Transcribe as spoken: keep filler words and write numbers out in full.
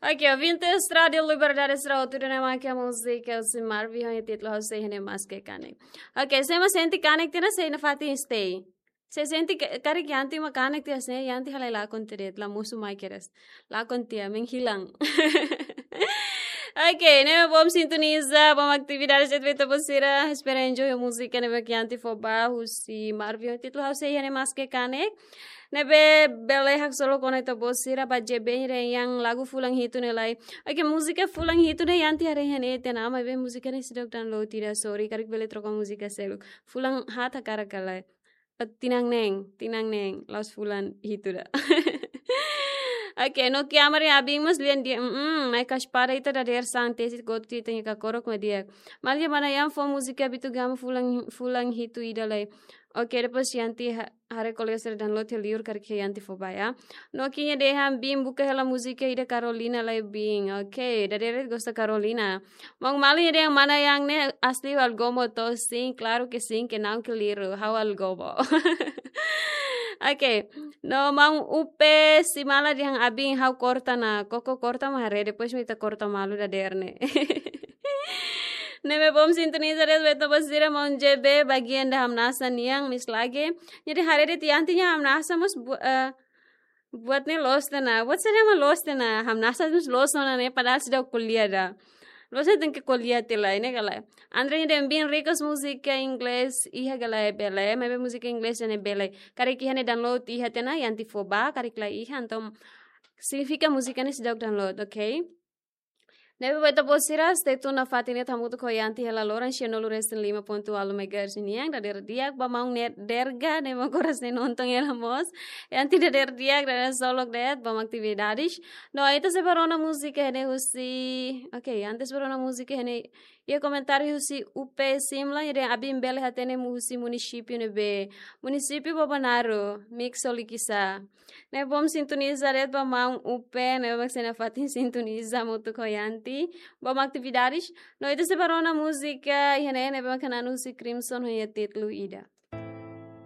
Ok, ouvintes, Rádio Liberdade sira hotu duni mak múzika husi Marvin ho títulu Ha'u Sei Iha Ne'e Maske Kanek. Ok, se ema sente kanek tiha ona, sei nafatin stay. Se sente ka-, karik Yanti mak kanek tiha, se Yanti halai lakon tiha de'it, la mosu mai kedas. Lakon tiha, menghilang. Ok, ne'e bom sintoniza, bom atividade, se feita bom sira, espera enjoy múzika ne'ebé Yanti fó ba, husi Marvin, títulu Ha'u Sei Iha Ne'e Maske Kanek. Ne'ebé bele haksolok ona ita-boot sira ba J B nia lagu fulan hitu ne'e lai. Ok, múzika fulan hitu ne'e Yanti haree iha ne'e tiha ona, maibé múzika ne'e seidauk download ida, sorry, karik bele troka múzika seluk. Fulan haat hakarak ka lae. Eh, tinan neen, tinan neen, la'ós fulan hitu ida. Ok, no ke amari abin mós lian dia, mm, mai kaspada ita dadeer-saan tesi gotu ita-nia kakorok mak di'ak. Maluk mana yang fó múzika Bitu Gama fulan, fulan hitu ida lai. Ok, depois Yanti ha-, haree kolega sira download iha liur karik Yanti fó ba ya. No ke nia dehan bin buka hela múzika ida Carolina lai bin. Ok, dadeer gosta Carolina. Maun Mali dehan mana yang ne'e asli Algomo to, sim, claro que sim, que não, que liru, ha'u Algomo. Ok, no maun Upe Simala dehan abin ha'u korta ona, koko korta mak haree, depois mak ita korta malu dadeer ne'e. Ne'ebé bom sintoniza de'it ba ita-boot sira, maun J B bagian ida hamnasa nian, mis lage. Jadi haree de'it Yanti nia hamnasa mós bu-, eh, buat ne'e loos tiha ona. Buat sira mak loos tiha ona. Hamnasa mós loos ona ne'e, padahal seidauk ko'alia ida. Loos ne'e tenke ko'alia tiha lai, ne'e ka lae. André dehan bin request múzika inglés iha ka lae, bele, maibé múzika inglés ne'e bele. Karik iha ne'e download iha tiha ona, Yanti fó ba, karik la iha, entaun signifika múzika ne'e seidauk download, ok? Ne'ebé ba ita-boot sira, stay tune nafatin ne'e hamutuk ho Yanti hela loron sianulu resin lima pontu ualu megahertz nian, dadeer di'ak ba maun ne'e Derga, ne'e mak oras ne'e nonton hela mós. Yanti dadeer di'ak, dadeer solok de'it, ba atividades. No, ita sei ba rona múzika ne'e husi, ok, antes ba rona múzika ne'e, iha komentáriu husi Upe Simla, nia dehan abin bele hatene mu husi munisípiu ne'ebé. Munisípiu Bobonaro, Mix Olikisa. Ne'e bom sintoniza de'it ba maun Upe, ne'e mak sei nafatin sintoniza hamutuk ho Yanti. Bom atividades. No ita sei ba rona múzika iha ne'e, ne'ebé mak hanesan husi Crimson ho nia títulu Ida.